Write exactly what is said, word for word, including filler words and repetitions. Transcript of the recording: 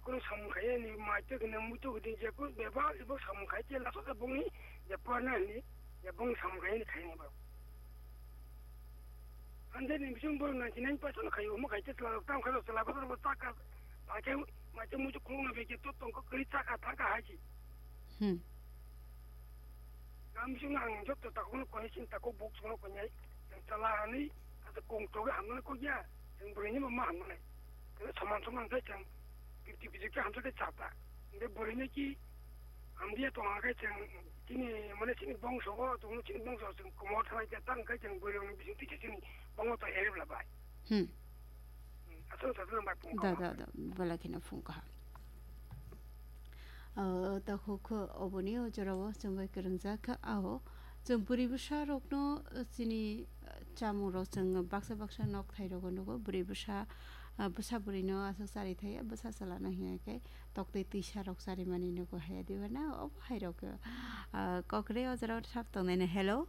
Bung samung khai ni mai te kene muitu kene je ko beba ibo samung khai te laso ta bung ni je porna ni je bung samung khai ni khai ni ba. Ande ni bising bung ninety nine percent khai mo khai te la tam khai la ba ta ba ta ka ba ke mai te muitu khulung na be ke to tong ko kri ta ka ta ka hai ji. Hmm. Ang bising ang jot to ta ko ko ni sin ta ko buk so ko nyai. Ang ta la ni ta kong to ga ham na ko ya. Ang bung ni ma ma ham na. Kene saman saman khai chang fifty fifty khe hamsa khe chata. Hingke bwrwino ki hamya tong khe chwng chini mane chini bongso o tong chini bongso chwng komo thanai khe tang khe chwng bwrwini bising twi chini bongo to erib la bai. Hmm. Asal sasal bai pung Da, kawa. Da, da, bala kheno phung kaha. Ah, takhuk oboni o jorao chwng bai kwrwngjak kha, aho chwng bwrwi bwsa rokno, ah, chini, ah, chamung rok chwng baksa baksa nok thai rogo nugo. Bwrwi bwsa, ah, bwsa bwrwi no aswk chari thai, bwsa chwla no hiya khe toktwi twisa rok chari mani nugo haya diba na obo hai rok, ah, kokre o jorao thap tongnai na. Hello?